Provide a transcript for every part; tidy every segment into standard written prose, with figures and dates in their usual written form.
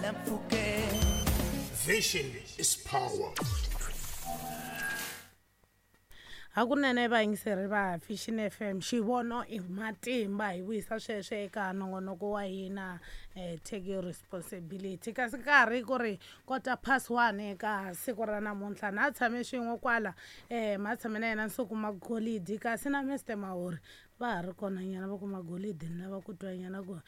hala mpfhukeni. Vision is power. Hakunene vayingiseri va Vision FM, xivono i matimba. Hi vuyisa sweswo eka nongonoko wa hina, Take Your Responsibility. Kasi nkarhi ku ri 1:15 eka siku ra namuntlha, na tshame swin'we kwala, ma tshame na yena Nsuku Magolidi, kasi na Mr Mahori va ha ri kona nyana. Va ku Magolidi ni lava ku twa nyana ku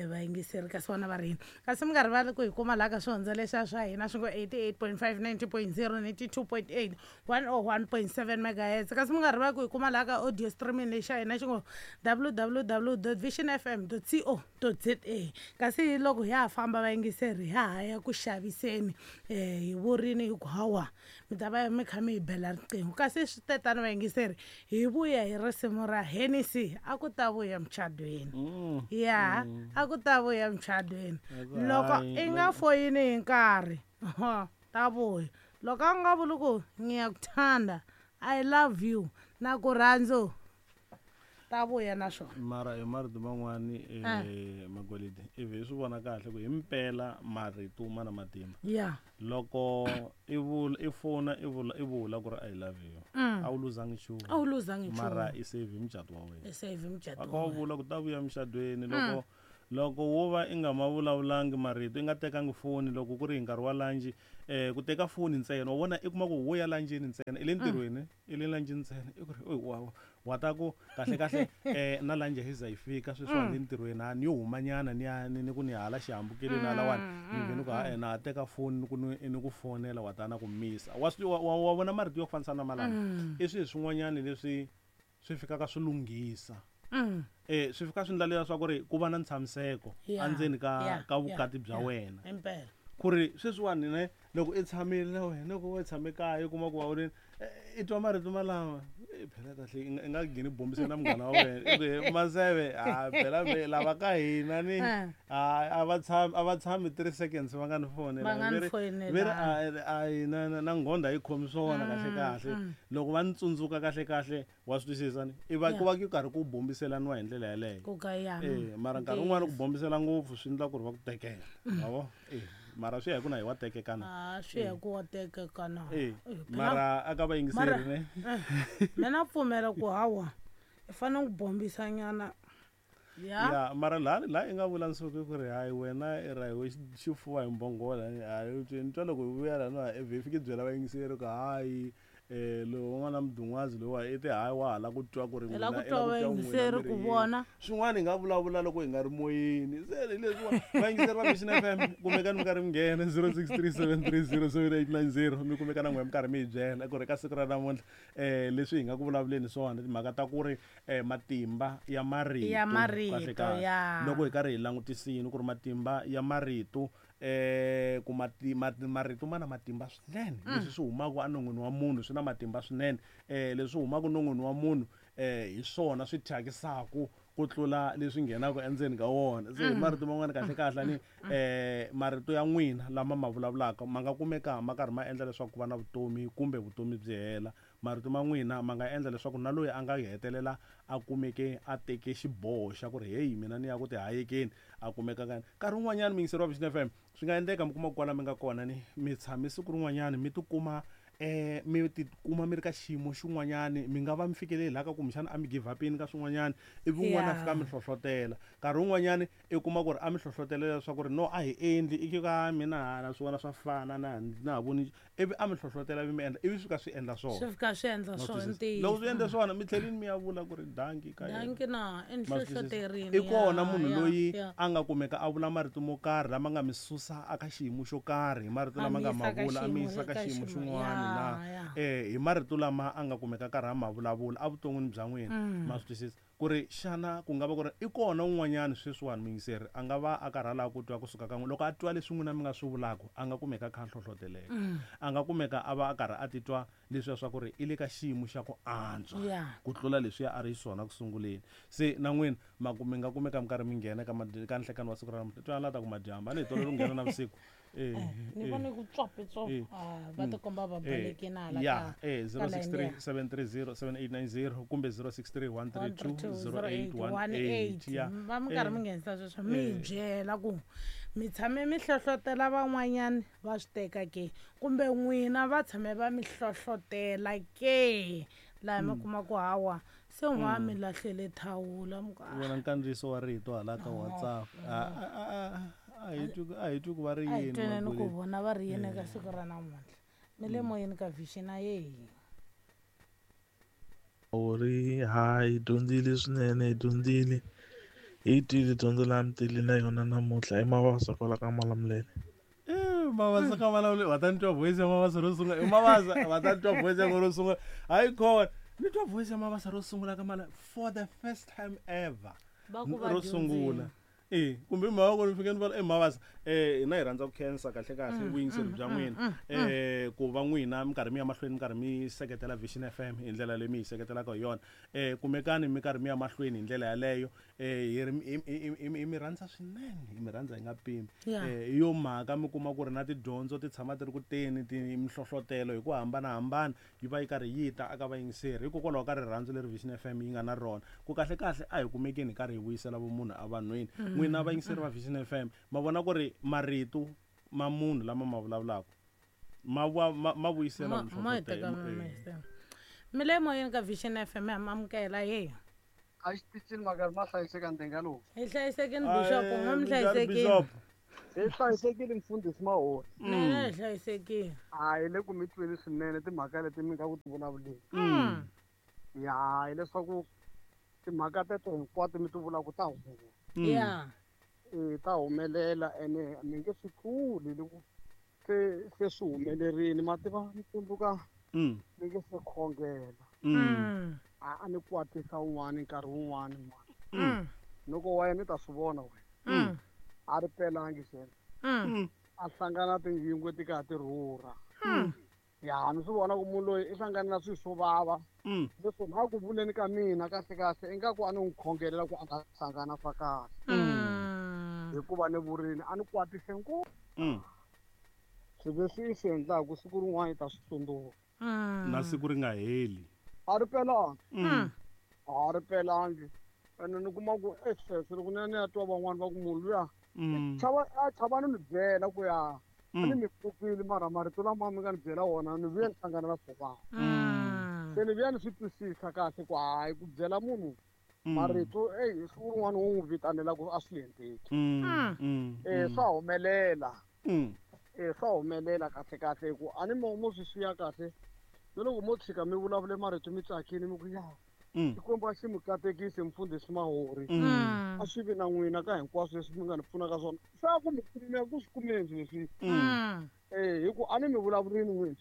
vayingiseri kasi vona va ri yini. Kasi mi nga rivali ku hi kuma laha ka swihondzo leswiya swa hina swi ngo 88.5, 90.0, 92.8, 101.7 megahertz. Kasi mi nga rivali ku hi kuma laha ka audio streaming lexi xa hina xi ngo www.visionfm.co.za. Kasi loko hi ha famba vayingiseri, ha ha ya ku xaviseni, hi vurini hi ku hawa mi ta va mi kha mi hi bela riqingho. Kasi swi tetano vayingiseri, hi vuya hi risimu ra Hennessy, a ku ta vuya muchadweni. Ya, a ku ta vuya muchadweni. Loko i nga foyini hi nkarhi, ta vuya. Loko a nga vuli ku ngiyakuthanda, I love you, na ku rhandzu, ta vuya na swona. Mara hi marito man'wani, Magolidi, ivi hi swi vona kahle ku hi mpela marito ma na matimba. Loko i vula, i fona, i vula, i vula ku ri I love you, a wu luzangi nchumu. A wu luzangi nchumu. Mara i save mucato wa wena. I save mucato A wa ka wa wena. vula ku ta vuya mucatweni. Loko wo va i nga ma vulavulangi marito, i nga tekangi foni loko ku ri hi nkarhi wa lunch, ku teka foni ntsena, wa vona i kuma ku wo ya lunchini ntsena, i le ntirhweni, i le lunchini ntsena, i ku ri, oy, wa ta ku kahle kahle, na lunch yi za yi fika sweswiwani le ntirhweni, a ni yo humanyana ni ya, ni ku ni hala xihambukelweni halawani, ni vhe ni ku, ha-e, na ha teka foni ni ku ni, ni ku fonela, wa ta na ku misa. Wa swi, wa, wa, wa vona marito yo fanisa na malama? I swilo swin'wanyani leswi swi fikaka swi lunghisa. Swi fika swi endla leswaku ri ku va na ntshamiseko endzeni ka vukati bya wena. Impela. Ku ri sweswiwani ne loko i tshamile na wena, loko u tshame kaya u kuma ku wa ri, i twa marito malama, phela kahle i nga ngheni bombise na munghana wa wena. I ku, he, Maseve, ha, phela ve, lava ka hina ni, ha, a va tshami, a va tshami 3 seconds va nga ni fonela. Va nga ni Ve ri, fonela. ve ri, a, a, na, na, na nghondha yi khomi swona kahle kahle. Loko va ni tsundzuka kahle kahle, wa swi twisisa ni? I va, ku va ku karhi ku bombiselaniwa hi ndlela yeleyo. Ku ka ya. Mara nkarhi wun'wani ku bombisela ngopfu swi endla ku ri va ku tekela. Wa vo? Mara swi ya hi ku na hi wa tekeka na. Ah, swi ya hi ku wa tekeka na. Phela Mara a ka vayingiseri mara ne? Mina pfumela ku hawa, i fanele ku bombisa nyana. Ya. Ya, mara laha i nga vula Nsuku ku ri hayi wena i rahiwe xifuva hi mbhongolo, hayi, u twe, ni twa loko hi vuya laha no, i vhe fiki byela vayingiseri ku hayi, lowu n'wana mudun'wazi lowa i te hayi wa ha lava ku twa ku ri I lava n'wina, ku i twa lava ku twa n'wina vayingiseri mi ri ku yini. vona. Swin'wana hi nga vulavula loko hi nga ri moyeni. Se hi leswiwa, vayingiseri va Vision FM, kumekani mi karhi mi nghena zero six three seven three zero seven eight nine zero, mi kumeka na n'wina mi karhi mi hi byela ku ri ka siku ra namuntlha, leswi hi nga ku vulavuleni swona timhaka ta ku ri, matimba ya marito, Ya marito, kahle kahle. ya. Loko hi karhi hi langutisini ku ri matimba ya marito, ku marito ma na matimba swinene. Leswi swi humaka enon'wini wa munhu swi na matimba swinene. Leswi humaka enon'wini wa munhu, hi swona swi thyakisaka ku tlula leswi nghenaka endzeni ka wona. Se hi marito man'wana kahle kahle ni, marito ya n'wina lama ma vulavulaka ma nga kumeka ma karhi ma endla leswaku ku va na vutomi kumbe vutomi byi hela. Marito ma n'wina ma nga endla leswaku na loyi a nga hetelela a kumeke a teke xiboho xa ku ri hey, mina ni ya ku tihayekeni, a kumeka ka nkarhi wun'wanyana muyingiseri wa Vision FM, swi nga endleka mi kuma ku kwala mi nga kona ni mi tshame siku rin'wanyana mi tikuma, mi tikuma mi ri ka xiyimo xin'wanyani, mi nga va mi fikeleli laha ka kumbexana a mi give up-ini ka swin'wanyana, ivi un'wana a fika a mi hlohlotela. Nkarhi wun'wanyani i kuma ku ri a mi hlohlotela leswaku ri no a hi endli, i ku ka mina hala swi vona swa fana, na ha voni, ivi a mi hlohlotela ivi mi endla, ivi swi fika swi endla swona. Swi fika swi endla Ma swona, twisisa? ntiyiso. Loko swi endle swona, mi tlhelini mi ya vula ku ri danki ka yena. Danki na, i ni Ma twisisa? hlohloterini, I kona ya, munhu ya, loyi ya. a nga kumeka a vula marito mo karhi lama nga mi susa aka xiyimo xo karhi, hi marito A lama mi nga ma yisa ka vula, a mi xiyimo yisa ka ka xiyimo xiyimo, xin'wana ya, na. ya. Hi marito lama a nga kumeka karhi a ma vulavula evuton'wini bya n'wina. Ma swi twisisa? Ku ri xana ku nga va ku ri i kona un'wanyana sweswiwani muyingiseri a nga va a karhi a lava ku twa kusuka ka n'wina, loko a twa leswi n'wina mi nga swi vulaka, a nga kumeka a kha a hlohloteleka. A nga kumeka a va a karhi a titwa leswiya swa ku ri i le ka xiyimo xa ku antswa ku tlula leswiya a ri xiswona ku sunguleni. Se na n'wina mi nga kumeka mi karhi mi nghena ka ka nhlekani wa siku ra namuntlha. Twana la ta ku madyambu, a ni hi tolovele ku nghena navusiku. Ni vone ku tswapi tswapi. Va tikomba va balekile hala ya ka 063 730 7890 kumbe 063 132 0818. Ya. Va mi karhi mi nghenisa sweswo, mi hi byela ku mi tshame mi hlohlotela van'wanyani va swi teka ke, kumbe n'wina va tshame va mi hlohlotela ke, laha mi kuma ku hawa se n'wa mi lahlele thawula mi ku Vona nkandziyiso wa rito hala ka WhatsApp. A hi twi, a hi twi ku va ri a hi yini. tweneni ku Mabuleni. vona va ri yini eka siku ra namuntlha. Mi le moyeni ka Vision, a yehi. Uri ha hi dyondzile swinene, hi dyondzile, hi twile dyondzo laha mi tile na yona namuntlha. I Mavasa kwala ka Malamulele. Mavasa ka Malamulele, va ta ni twa voice ya Mavasa ro sungula. I Mavasa, va ta ni twa voice ya ro sungula. Hayi khona ni twa voice ya Mavasa ro sungula ka mala for the first time ever. Va ku va Ro sungula. Kumbe i mhaka ku ni fike ni vona i Mavasa. Hina hi rhandza ku khensa kahle kahle vuyingiseri bya n'wina. Ku va n'wina mi karhi mi ya mahlweni mi karhi mi seketela Vision FM hi ndlela leyi mi hi seketelaka hi yona. Kumekani mi karhi mi ya mahlweni hi ndlela yaleyo. Hi ri hi mi rhandza swinene, hi mi rhandza hi nga pimi. Hi yo mhaka mi kuma ku ri na tidyondzo ti tshama ti ri ku teni, ti mihlohlotelo hi ku hambanahambana yi va yi karhi yi ta aka vayingiseri, hikokwalaho ka rirhandzu leri Vision FM yi nga na rona. Ku kahle kahle a hi kumekeni hi karhi hi vuyisela vumunhu evanhwini. N'wina vayingiseri va Vision FM ma vona ku ri marito ma munhu lama ma vulavulaka ma vuyisela Ma hi teka mihlohlotelo. Mi le moyeni ka Vision FM, ha mi amukela ye. A xitichini makari ma hlayiseka ndenga lowu. Hi hlayisekini Bishop, n'we mi Njhani, hlayisekile. Bishop? Hi hlayisekile mfundhisi Mahori. Mina hi hlayisekile. A hi le ku mi tweni swinene timhaka leti mi nga ku ti vulavuleni. Ya, hileswaku timhaka teto hinkwato mi ti vulaka ta humelela. Ta humelela ene mi nge swi tluli loko se swi humelerile. Ma tiva mi tsundzuka mi nge se khongela. A ni kwatisa un'wana nkarhi wun'wani n'wana. Loko wa yena ni ta swi vona wena. A ri pelangi xena. A hlangana tiyingwe ti karhi ti rhurha. Ya, ni swi vona ku munhu loyi i hlangana na swilo swo vava. Leswi na ku vuleni ka mina kahle kahle ingaku a ni n'wi khongelela ku a nga hlangana swa kahle. Hikuva ni vurini a ni kwatise ngopfu. Swilo leswi i swi endlaku siku rin'wana i ta swi tsundzuka. Na siku ri nga heli. A ri pelangi. A ri pelangi. Ene ni kuma ku sweswo loko ni ya ni ya twa van'wani va ku munhu luya a chava ni mi byela ku ya a ni mi pfukile, mara marito lama mi nga ni byela wona ni vuya ni hlangana na swo vava. Se ni vuya ni swi twisisa kahle ku hayi ku byela munhu marito, siku rin'wana wo n'wi vitanela ku a swi endleki. Swa humelela. Swa humelela kahle kahle ku a ni mo swi xiya kahle. Na loko mo tshika mi vulavule marito mi tsakile mi ku ya. Xikwembu a xi mi katekisi mfundhisi Mahori. A swi vi na n'wina ka hinkwaswo leswi mi nga ni pfunaka swona. Swa ku mi kumeka ku swi kumeni swilo leswi. Hi ku a ni mi vulavurini n'wina.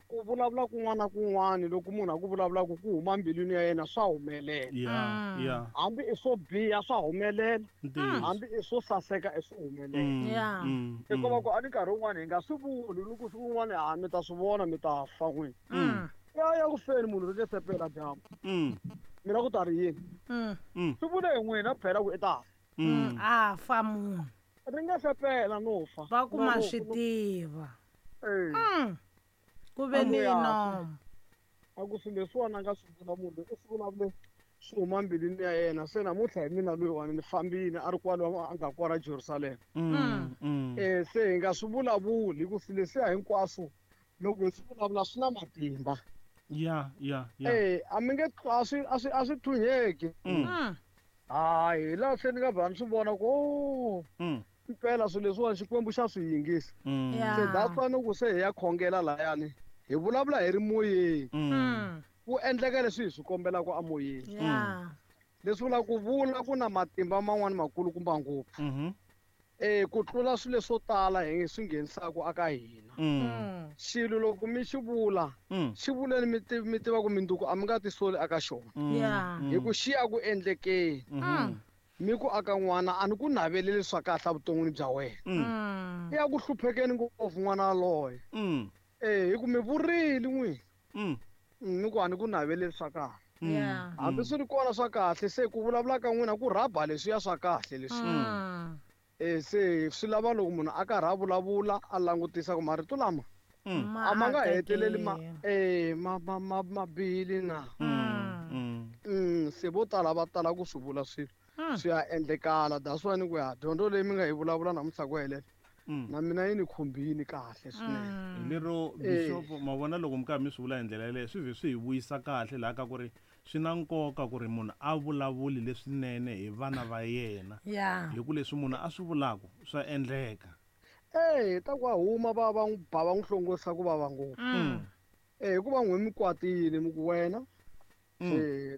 Ku vulavula kun'wana na kun'wana loko munhu a ku vulavulaka ku huma mbilwini ya yena swa humelela. Hambi i swo biha swa humelela. Hambi i swo saseka i swo humelela. Hikuva ku a ni nkarhi wun'wana hi nga swi vuli loko siku rin'wana ha mi ta swi vona mi ta fa n'wina. Ya ya ku feni munhu ri nge se pela dyambu. Mina ku ta ri yini? Swi vule hi n'wina phela ku i ta fa. A fa munhu. Ri nge se pela no fa. Va ku ma No, no, swi no. tiva. Ku ve ni Amuya. nomu. A ku swilo leswiwani a nga swi vula munhu loyi, i swi vulavule swi huma mbilwini ya yena. Se namuntlha hi mina loyiwani ni fambile a ri kwalo a nga kwala Jerusalema. Se hi nga swi vulavuli hi ku swilo leswiya hinkwaswo loko hi swi vulavula swi na matimba. Ya, ya, ya. A mi nge a swi, a swi, a swi thunyeki. Hayi, hi laha se ni nga vha ni swi vona ku, oh, impela swilo leswiwani Xikwembu xa swi yingisa. Se that's why loko se hi ya khongela layani, hi vulavula hi ri moyeni. Ku endleka leswi hi swi kombelaka emoyeni. Leswi vulaka ku vula ku na matimba man'wani makulukumba ngopfu. Ku tlula swilo leswo tala hi swi nghenisaka aka hina. Xilo loko mi xi vula, xi vuleni mi tiva ku minduku a mi nga tisoli aka xona. Hi ku xi ya ku endlekeni. Mi ku aka n'wana a ni ku naveleli swa kahle evuton'wini bya wena. I ya ku hluphekeni ngopfu n'wana yaloye. Hi ku mi vurile n'wina. Mi ku a ni ku naveleli swa kahle. Hambi swi ri kona swa kahle, se ku vulavula ka n'wina ku rhaba leswiya swa kahle leswi. Se swi lava loko munhu a karhi a vulavula a langutisa ku marito lama a ma nga heteleli ma bihile na. Se vo tala va tala ku swi vula swilo swi ya endlekala. That's why ni ku ya dyondzo leyi mi nga yi vulavula namuntlha ku helela na mina yi ni khumbini kahle swinene. Lero Bishop, ma vona loko mi karhi mi swi vula hi ndlela yeleyo swi vhe swi hi vuyisa kahle laha ka ku ri swi na nkoka ku ri munhu a vulavuli leswinene hi vana va yena. Hi ku leswi munhu a swi vulaka swa endleka. Ta ku a huma va va n'wi ba va n'wi hlongorisa ku vava ngopfu. Hikuva n'wi mi kwatile mi ku wena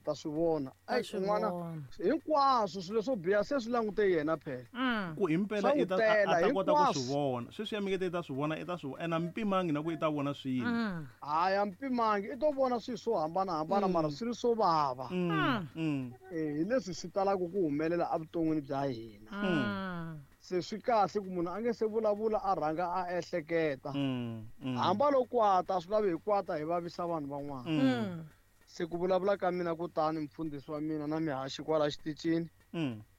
ta swi vona. N'wana hinkwaswo swilo swo biha se swi langute yena phela. Ku himpela i ta a ta kota ku swi vona. Sweswi ya mikete i ta swi vona, i ta swi vona. Ene a mpimangi na ku i ta vona swilo. Hayi a mpimangi, i to vona swilo swo hambanahambana mara swi ri swo vava. Hi leswi swi talaka ku humelela evuton'wini bya hina. Se swi kahle ku munhu a nge se vulavula a rhanga a ehleketa. Hamba lo kwata, a swi lavi hi kwata hi vavisa vanhu van'wana. Se ku vulavula ka mina kutani mfundhisi wa mina na mihaxi kwala xitichini.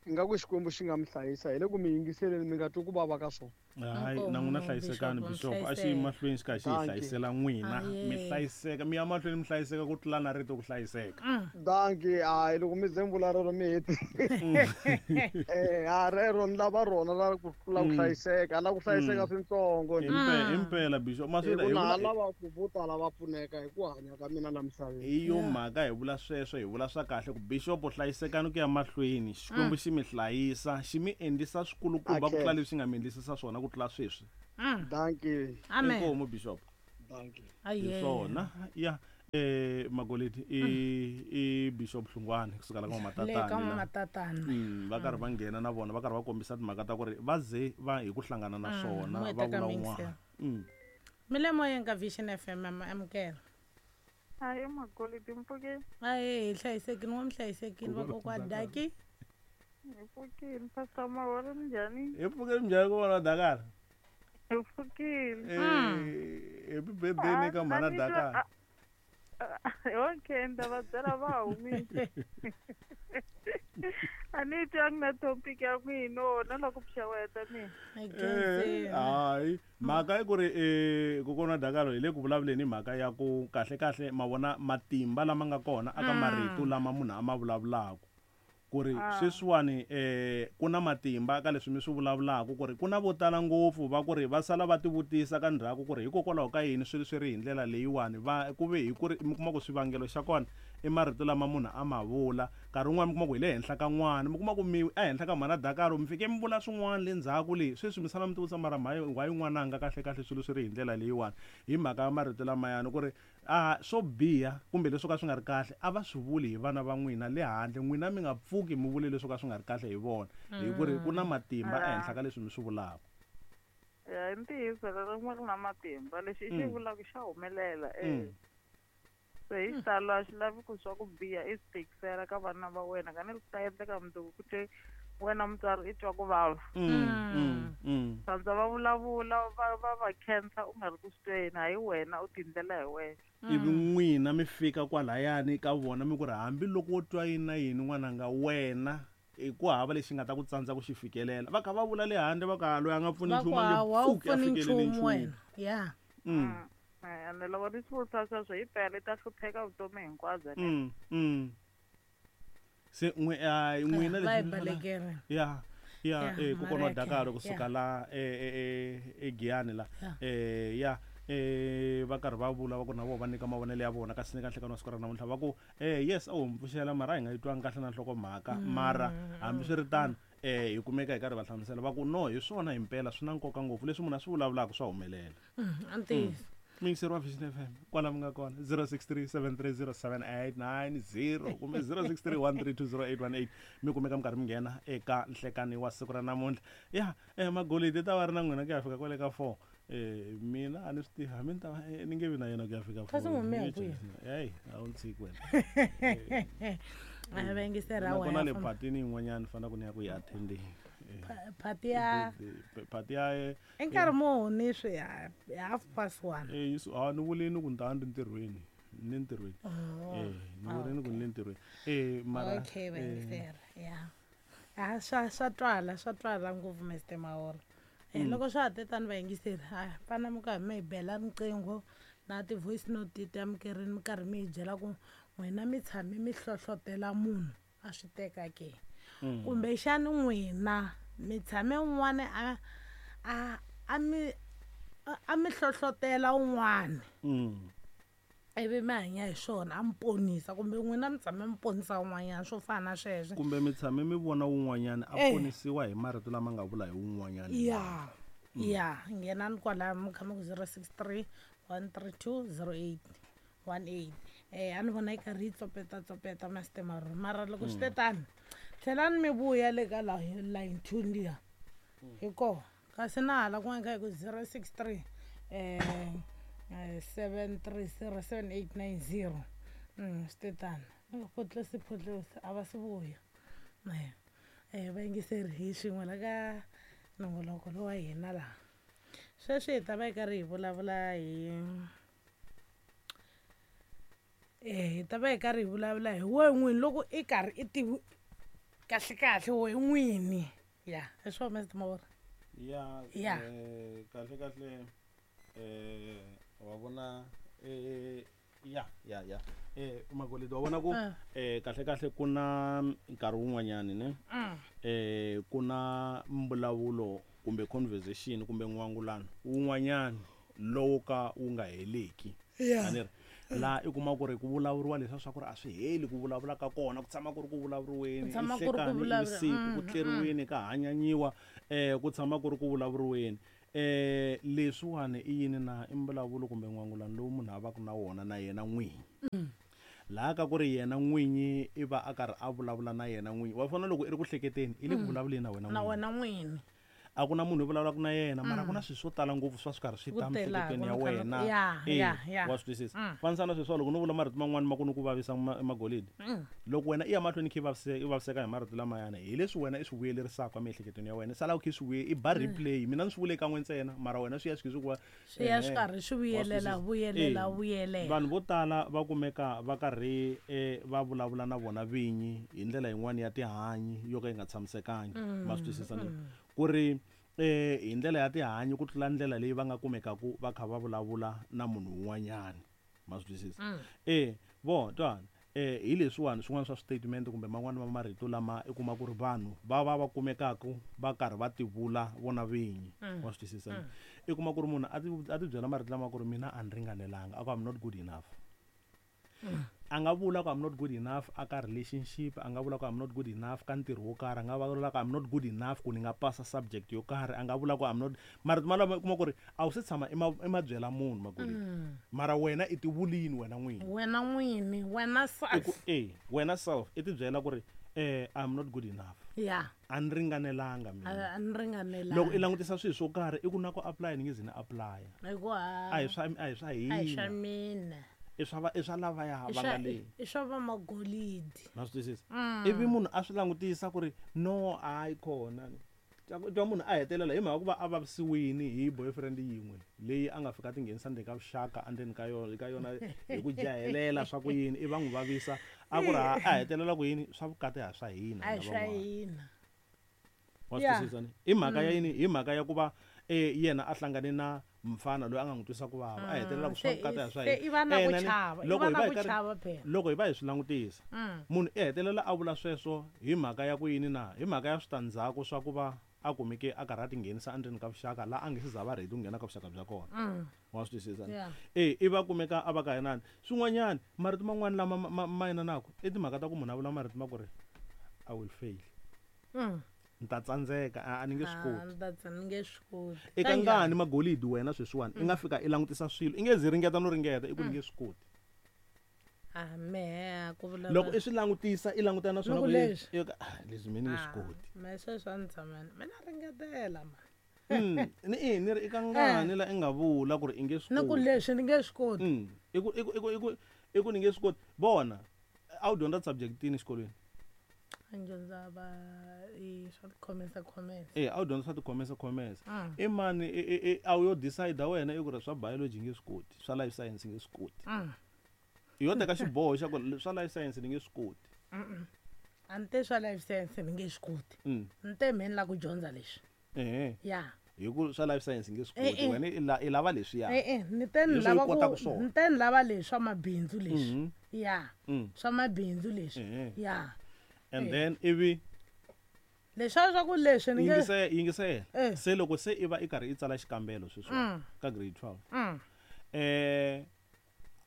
Ingaku Xikwembu xi nga mi hlayisa hi le ku mi yingiseleni mi nga twi ku vava ka swona. Hayi, na n'wina hlayisekani Bishop, a xi yi mahlweni xi kha xi hi hlayisela n'wina. Mi hlayiseka, mi ya mahlweni mi hlayiseka ku tlula na rito ku hlayiseka. Dankie, hayi loko mi ze mi vula rero mi heti. Ha rero ni lava rona ra ku tlula ku hlayiseka, la ku hlayiseka swintsongo. Himpela Bishop, ma swi hi vula lava ku vo tala va pfuneka hi ku hanya ka mina la misaveni. Hi yo mhaka hi vula sweswo, hi vula swa kahle ku Bishop hlayisekani ku ya mahlweni, Xikwembu xi mi hlayisa, xi mi endlisa swikulukumba ku tlula leswi nga mi endlisisa swona ku tlula sweswi. Dankie. Amen. Inkomu Bishop. Dankie. Hi swona. Ya Magoleti i Bishop Hlungwane kusuka la ka Matatana. Va karhi va nghena na vona va karhi va kombisa timhaka ta ku ri va ze va hi ku hlangana na swona va vula un'wana. Milemo ya ka Vision FM amukela. Hayi Magoleti mpfukeni. Hayi hi hlayisekile n'wa mi hlayisekile vakokwa Daki. Hi pfukile Pastor Mahori minjhani? Hi pfukile minjhani ku vona Dakar? Hi pfukile. Happy birthday ni ka mhana Dakar. Okay, ni ta va byela va humile. A ni twangi na topic ya n'wina na loko pfuxeweta mina. Hayi mhaka i ku ri kokwana Dakar hi le ku vulavuleni hi mhaka ya ku kahle kahle ma vona matimba lama nga kona aka marito lama munhu a ma vulavulaka. Ku ri sweswiwani ku na matimba ka leswi mi swi vulavulaka ku ri ku na vo tala ngopfu va ku ri va sala va tivutisa ka ndzhaku ku ri hikokwalaho ka yini swilo swi ri hi ndlela leyiwani va ku ve hi ku ri mi kuma ku swivangelo xa kona i marito lama munhu a ma vula nkarhi wun'wani mi kuma ku hi le henhla ka n'wana mi kuma ku mi ehenhla ka mhana Dakar mi fike mi vula swin'wana le ndzhaku le sweswi mi sala mi tivutisa mara why n'wananga kahle kahle swilo swi ri hi ndlela leyiwani hi mhaka ya marito lamayani ku ri swo biha kumbe leswo ka swi nga ri kahle a va swi vuli hi vana va n'wina le handle n'wina mi nga pfuki mi vule leswo ka swi nga ri kahle hi vona hi ku ri ku na matimba ehenhla ka leswi mi swi vulaka. Ya i ntiyiso ririmi ri na matimba lexi i xi vulaka xa humelela Se hi xitalo a xi lavi ku swa ku biha i swi tikisela ka vana va wena ka ni swi ta endleka mundzuku ku te wena mutswari i twa ku vava. Sandza va vulavula va khensa u nga ri ku swi tweni hayi wena u tindlela hi wena. Ivi n'wina mi fika kwalayani ka vona mi ku ri hambiloko wo twa yini na yini n'wananga wena i ku hava lexi nga ta ku tsandza ku xi fikelela va kha va vula le handle va ka loyi a nga pfuni nchumu a nge pfuki a fikelele nchumu. Ya. Ende loko ni swi vutisa sweswo hi pela i ta hlupheka vutomi hinkwabyo. Se n'wina leswi ya ya kokwana wa Dakar kusuka la eGiyani la ya va karhi va vula va ku na vona va nyika mavonelo ya vona kasi ni ka nhlekani wa siku ra namuntlha va ku yes a wu mi pfuxela mara a hi nga yi twangi kahle na nhlokomhaka mara hambiswiritano hi kumeka hi karhi va hlamusela va ku no hi swona himpela swi na nkoka ngopfu leswi munhu a swi vulavulaka swa humelela. Ntiyiso. Miyingiseri wa Vision FM kwala mi nga kona 0637307890 kumbe 0631320818 mi kumeka mi karhi mi nghena eka nhlekani wa siku ra namuntlha. Ya Magolidi ta va ri na n'wina ku ya fika kwale ka 4. Mina a ni swi tivi hambi ni ta va ni nge vi na yena ku ya fika 4. Kasi n'wi kwihi? Hey, a wu ntshiki wena. A vayingiseri a Nakona le patini yin'wanyana fanele ku ni ya ku yi attendeni. Phati ya phati ya i nkarhi muni swi 1:30. Ni vulini ku ni ta va ni ri ntirhweni ni ntirhweni. Ni vulini ku ni le ntirhweni. Mara okay vayingiseri ya. A swa twala, swa twala ngopfu Mr Mahora. Loko swa ha te tani vayingiseri, ha fana mi karhi mi hi bela riqingho na ti-voice note ti amukerini, mi karhi mi hi byela ku n'wina mi tshame mi hlohlotela munhu a swi teka ke, kumbexani n'wina mi tshame un'wana a mi hlohlotela un'wana, ivi mi hanya hi swona, a mi ponisa, kumbe n'wina mi tshame mi ponisa un'wanyana, swo fana na sweswo. Kumbe mi tshame mi vona wun'wanyana a ponisiwa hi marito lama nga vula hi wun'wanyana. Ya, nghenani kwalaya, mi kha mi ku 063 132 0818. A ni vona yi karhi yi tsopeta tsopeta Master Maruru, mara loko swi te tani, tlhelani mi vuya le ka line two liya hi koho, kasi na hala kun'wana kha hi ku 063 730 7890. Swi te tani, photlesi photlesi, a va si vuya. Vayingiseri, hi swin'we la ka nongoloko lowa hina laha sweswi hi ta va hi karhi hi vulavula hi hi ta va hi karhi hi vulavula hi wehe n'wini, loko i karhi i tivi kahle kahle wehe n'wini. Ya, hi swo, Mr Mavora. Ya. Ya. Kahle kahle, wa vona, ya Magolidi, wa vona ku kahle kahle ku na nkarhi wun'wanyani ne, ku na mbulavulo kumbe conversation kumbe n'wangulano wun'wanyani lowu ka wu nga heleki. A ni ri laha i kuma ku ri ku vulavuriwa leswiya swa ku ri a swi heli ku vulavula ka kona, ku tshama ku ri ku vulavuriweni. Ku tshama ku ri ku Nhlekani, vusiku ku tleriweni, ka hanyanyiwa, ku tshama ku ri ku vulavuriweni. Leswiwani i yini na? I mbulavulo kumbe n'wangulano lowu munhu a va ku na wona na yena n'winyi, laha ka ku ri yena n'winyi i va a karhi a vulavula na yena n'winyi. Wa fana loko i ri ku hleketeni, i le ku vulavuleni na wena na n'winyi. Wena n'wini. A ku na munhu i vulavulaka na yena, mara ku na swilo swo tala ngopfu swa swi karhi swi Ku ta telaka, miehleketweni ya mi kha wena. Ya. Wa swi twisisa? Fanisa na sweswiwa, loko no vula marito man'wani ma ku ni ku vavisa, Magolidi, loko wena i ya mahlweni kha i vaviseka hi marito lamayana, hi leswi wena i swi vuyelerisaka emiehleketweni ya wena, sala u kha i swi vuye i ba replay. Mina ni swi vule kan'we ntsena, mara wena swi ya swi kha swi ku va Swi ya swi karhi swi Wa swi vuyelela, twisisa? vuyelela, vuyelela. Vanhu vo tala va kumeka va karhi va vulavula na vona vinyi hi ndlela yin'wani ya tihanyi yo ka yi nga tshamisekangi. Ma swi twisisa ni ku ri hi ndlela ya tihanyi ku tlula ndlela leyi va nga kumekaku va kha va vulavula na munhu un'wanyani. Ma swi twisisa? Vo twana, hi leswiwani swin'wana swa statement kumbe man'wani ma marito lama i kuma ku ri vanhu va va va kumekaku va karhi va tivula vona vinyi. Wa swi twisisa? I kuma ku ri munhu a ti byela marito lama ku ri mina a ni ringanelanga, a ku I'm not good enough. A nga vula ku I'm not good enough a ka relationship, a nga vula ku I'm not good enough ka ntirho wo karhi, a nga vula ku I'm not good enough ku ni nga pasa subject yo karhi, a nga vula ku I'm not. Marito malamo i kuma ku ri a wu se tshama i ma byela munhu, Magolidi, mara wena i ti vulini wena n'wini. Wena n'wini, wena I ku self. Wena self i ti byela ku ri I'm not good enough. A ni ringanelanga mina. A ni ringanelanga. Loko i langutisa swilo swo karhi, i ku na ku apply ni nge zi ni apply. Hi ku ha A hi swa a hi swa hina. Mina. I swa lavaya I va swa nga le. I swa vamagolidi. Ma swi twisisa? Ivi munhu a swi langutisa ku ri no, hayi khona twa munhu a hetelela hi mhaka ku va a vavisiwini hi boyfriend yin'we leyi a nga fika a tinghenisa ndzeni ka vuxaka endzeni ka yona, ka yona hi ku jahelela swa ku yini, i va n'wi vavisa, a ku ri a hetelela ku yini, swa vukati ha swa hina. A hi Hina swa van'wana. Hina. Wa swi twisisa ni i mhaka ya yini? Hi mhaka ya ku va yena a hlangane na mfana loyi a nga n'wi twisa ku vava, a hetelela ku swa vukati ha swa Se hina. i va na ku Na ni- chava, i loko va hi na va hi ku chava phela. Loko hi va hi swi langutisa, munhu i hetelela a vula sweswo hi mhaka ya ku yini na? Hi mhaka ya switandzhaku swa ku va a kumeke a karhi a tinghenisa endzeni ka vuxaka laha a nge se za va ready ku nghena ka vuxaka bya kona. Wa swi twisisa? I va kumeka a va ka inani swin'wanyani marito man'wani lama ma inanaku i timhaka ta ku munhu a vula marito ma ku ri I will fail. Ni ta tsandzeka, a ni nge swi koti. Ah, ni ta ni nge swi koti. Eka Kanjhani? ngani, Magolidi, wena sweswiwani i nga fika i langutisa swilo, i nge zi ringeta no ringeta, i ku ni nge swi koti. Ah, mehe ku vula Loko i swi langutisa, i langutana na swona Ni ku ku yini? leswi. Ah, leswi me ni nge swi koti. Me sweswi a ni tshama mina ringetela ma. Ni i ni ri eka ngani la i nga vula ku ri i nge swi Ni ku koti? leswi ni nge swi koti. I ku ni nge swi koti. Vona, a wu dyondza subject yini exikolweni? A ni dyondza va i swa ti-commerce commerce. A wu dyondza swa ti-commerce commerce. I mani a wu yo decide wena i ku ri swa biology nge swi koti, swa life science nge swi koti? I yo teka xiboho xa ku swa life science ni nge swi koti? A ni te swa life science ni nge swi koti. Ni te mhe ni lava ku dyondza leswi. Ya. Hi ku swa life science nge swi koti, wena i lava leswiya. E-e, ni te ni lava ku ni te ni lava leswi swa mabindzu leswi. Ya. Swa mabindzu leswi. Ya. And then ivi leswiya swa ku leswi ni nge yingisela. Se loko se i va i karhi i tsala xikambelo sweswiwa ka grade 12.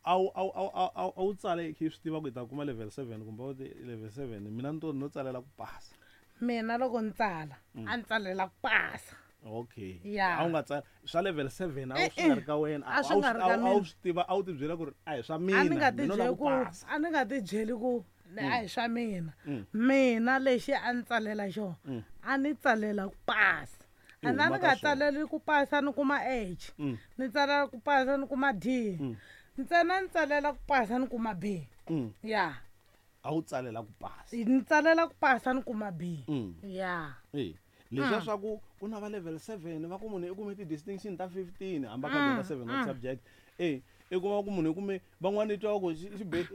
A wu tsale i swi tiva ku i ta kuma level 7 kumbe u level 7, mina ni to no tsalela ku pasa. Mina loko ni tsala a ni tsalela ku pasa. Okay. Ya. A wu nga tsala swa level 7, a wu swi nga ri ka wena. A swi nga ri ka mina. A wu swi tiva, a wu ti byela ku ri a hi swa mina. A ni nga ti byeli ku a ni nga ti byeli ku a hi swa mina. Mina lexi a ni tsalela xona, a ni tsalela ku pasa. A ni nga tsaleli ku pasa ni kuma H. Ni tsalela ku pasa ni kuma D. Ntsena ni tsalela ku pasa ni kuma B. Ya. A wu tsalela ku pasa. Ni tsalela ku pasa ni kuma B. Ya. Leswiya swa ku ku na va level 7 va ku munhu i kume ti-distinction ta 15 hambi a kha dyondza 7 wa subject. I kuma ku munhu i kume van'wana i twa ku xi be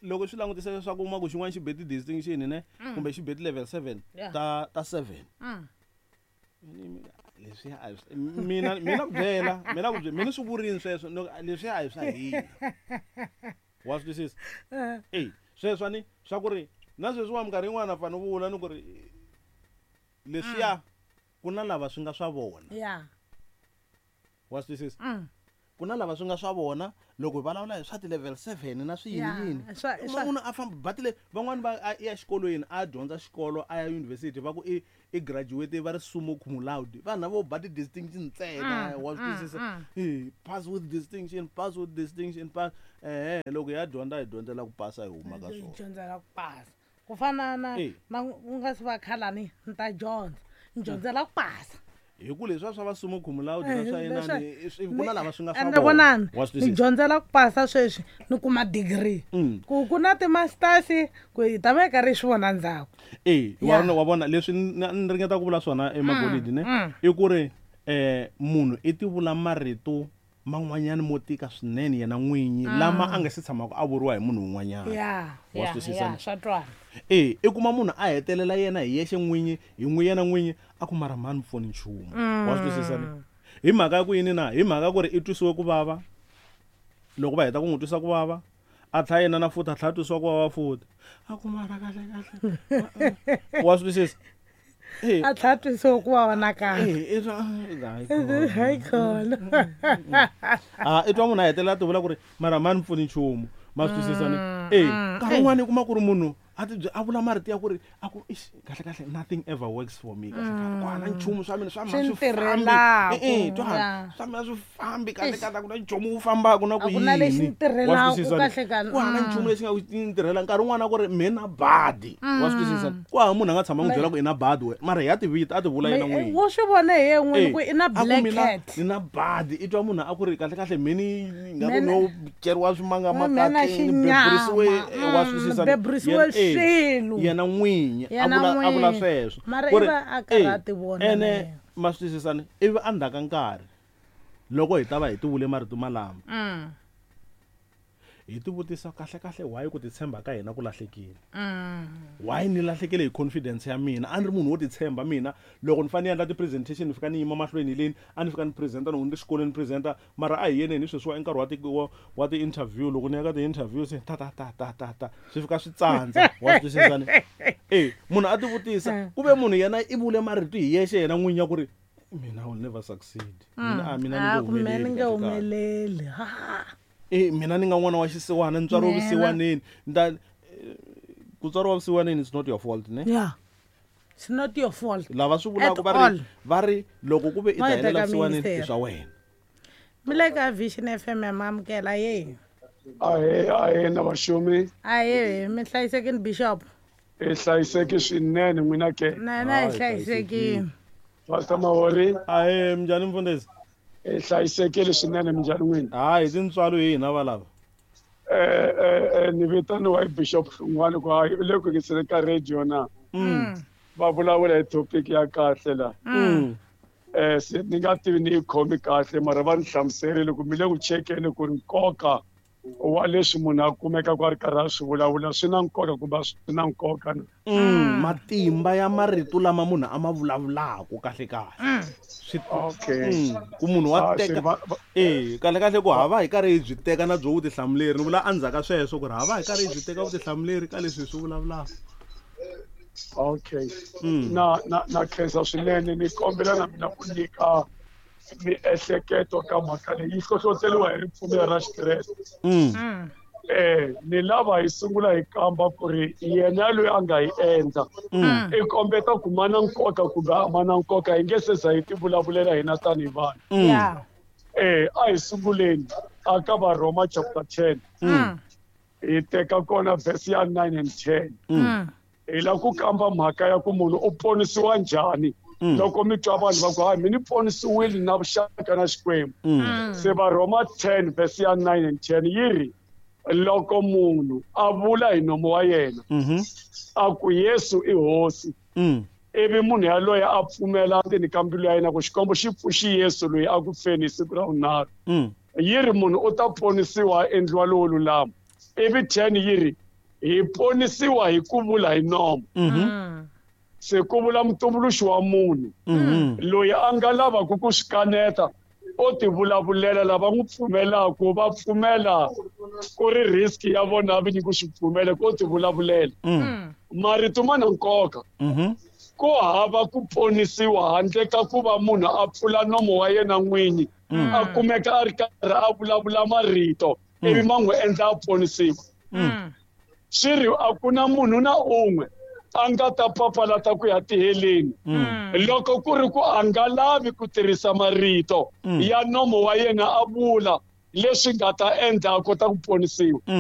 loko swi langutisa leswaku uma ku xin'wana xi be ti-distinction ne kumbe xi be ti-level 7 ta 7. Leswiya a hi mina mina ku byela mina ku byela mina swi vurini sweswo leswiya a hi swa hina. Wa swi twisisa? Sweswo ni swa ku ri na sweswiwa minkarhi yin'wana a fanele vula ni ku ri leswiya ku na lava swi nga swa vona. Ya. Wa swi twisisa? Ku na lava swi nga swa vona loko hi vulavula hi swa ti-level 7 na swi yini yini. Munhu a famba ba tile van'wani va ya exikolweni a dyondza xikolo a ya university va ku i graduate va ri summa cum laude. Vanhu lava vo ba ti-distinction ntsena, wa swi twisisa? Pass with distinction, pass with distinction, pass. Loko hi ya dyondza hi dyondzela ku pasa hi huma ka swona. Hi dyondzela ku pasa. Ku fana na na ku nga se va khalani ni ta dyondza. Ni dyondzela ku pasa. Hi ku leswiya swa va summa cum laude na swa yena ku na lava swi nga swa vona. Vonani, ni dyondzela ku pasa sweswi ni kuma degree. Ku na ti-masters ku hi ta va hi karhi hi swi vona ndzhaku. Wa vona leswi ni ringeta ku vula swona emagolidi ne i ku ri munhu i ti vula marito man'wanyana mo tika swinene yena n'winyi lama a nga se tshamaka a vuriwa hi munhu un'wanyana. Wa swi twisisa? Swa twala. I kuma munhu a hetelela yena hi yexe n'winyi hi n'wi yena n'winyi a ku mara mhani pfuni nchumu. Wa swi twisisa ni? Hi mhaka ya ku yini na? Hi mhaka ku ri i twisiwe ku vava. Loko va heta ku n'wi twisa ku vava, a tlhela yena na futhi a tlhela a twisiwa ku vava futhi. A ku mara kahle kahle. Wa swi twisisa? A tlhela twisiwa ku vava nakambe. Hayi khona. I twa munhu a hetelela a ti vula ku ri mara mhani pfuni nchumu. Ma swi twisisa ni? Nkarhi wun'wani i kuma ku ri munhu a ti a vula marito ya ku ri a ku ixi kahle kahle nothing ever works for me kahle kahle. Ku hana nchumu swa mina swa mina swi fambi. Twa swa mina swi fambi kahle kahle ku na nchumu wu fambaka na ku yini. Ku hana nchumu lexi nga ku ntirhela nkarhi wun'wana ku ri mina badi. Wa swi twisisa? Ku hava munhu a nga tshama n'wi byela ku i na badi wena. Mara ya tivita a ti vula yena n'wini. Wo swi vona hi yena n'wini ku i na black cat. Ni na badi. I twa munhu a ku ri kahle kahle mini nga ku no ceriwa swimanga makatleni beburisiwe wa swi twisisa? Beburisiwe swilo. Yena n'winyi a vula sweswo. Mara i va a karhi a ti vona. Ene ma swi twisisa ni? Ivi endzhaku ka nkarhi loko hi ta va hi ti vule marito malama hi ti vutisa kahle kahle why ku titshemba ka hina ku lahlekile. Why ni lahlekele hi confidence ya mina? A ni ri munhu wo titshemba mina. Loko ni fanele ni endla ti-presentation ni fika ni yima mahlweni leni, a ni fika ni presenta loko ni ri xikolweni ni presenta, mara a hi yeneni sweswiwa i nkarhi wa ti-interview. Loko ni ya ka ti-interview se ta ta ta ta ta ta swi fika swi tsandza. Wa swi twisisa ni? Munhu a ti vutisa ku ve munhu yena i vule marito hi yexe yena n'winyi ya ku ri mina I will never succeed. Mina mina ni nge humeleli. Mina ni nga n'wana wa xisiwana, ni tswariwe vusiwaneni. Ku tswariwa vusiwaneni it's not your fault, ne? Yeah. It's not your fault. Lava swi vulaka va ri loko ku ve i ta helela vusiwaneni i swa wena. Mi le ka Vision FM ya mamukela ye. Ahe na vaxumi. Ahe mi hlayisekini Bishop. I hlayiseki swinene n'wina ke. Na na hi hlayisekini. Pastor Mahori. Ahe minjhani mfundhisi? I hlayisekile swinene minjhani n'wina? Hayi tintswalo hi hina valava. Ni vitaniwa hi Bishop Hlungwani ku hayi le ku yingisele ka radio na. Va vulavula hi topic ya kahle la. Se ni nga tivi ni yi khomi kahle mara va ni hlamuserile ku mi le ku chekeni ku ri nkoka Wa leswi munhu a kumekaka a ri karhi a swi vulavula swi na nkoka kumbe a swi na nkoka na? Matimba ya marito lama munhu a ma vulavulaka kahle kahle. Swi Okay. Ku munhu wa Ah, se teka eh kahle kahle ku hava hi karhi hi byi teka na byo vutihlamuleri, ni vula endzhaku ka sweswo ku ri hava hi karhi hi byi teka vutihlamuleri ka leswi hi swi vulavulaka. Okay. Na khensa swinene, ni kombela na mina ku nyika miehleketo ka mhaka leyi yi hlohloteriwa hi ripfumelo ra Xikreste. Ni lava hi sungula hi kamba ku ri yena loyi a nga hi endla i kombeta ku ma na nkoka kumbe a ma na nkoka, hi nge se za hi ti vulavulela hina tanihi vanhu. A hi sunguleni aka Varhoma chapter 10. Hi teka kona verse ya 9 and 10. Hi lava ku kamba mhaka ya ku munhu u ponisiwa njhani. Loko mi twa vanhu va ku hayi mi ni ponisiwile na vuxaka na Xikwembu. Se Varhoma 10 verse ya 9 and 10 yi ri loko munhu a vula hi nomu wa yena a ku Yesu i hosi, ivi munhu yaloye a pfumela ndzeni ka mbilu ya yena ku Xikwembu xi pfuxi Yesu loyi a ku feni hi siku ra vunharhu, yi ri munhu u ta ponisiwa a endliwa lowo lulama. Ivi 10 yi ri hi ponisiwa hi ku vula hi nomu. Se ku vula mutumbuluxi wa munhu loyi a nga lavaka ku swi kaneta o ti vulavulela, lava n'wi pfumelaka va pfumela ku ri risk ya vona vinyi ku swi pfumela ku o ti vulavulela. Marito ma na nkoka. Ku hava ku ponisiwa handle ka ku va munhu a pfula nomo wa yena n'winyi, a kumeka a ri karhi a vulavula marito ivi ma n'wi endla a ponisiwa. Swi ri a ku na munhu na un'we a nga ta papalata ku ya tiheleni loko ku ri ku a nga lavi ku tirhisa marito ya nomo wa yena a vula leswi nga ta endla a kota ku ponisiwa.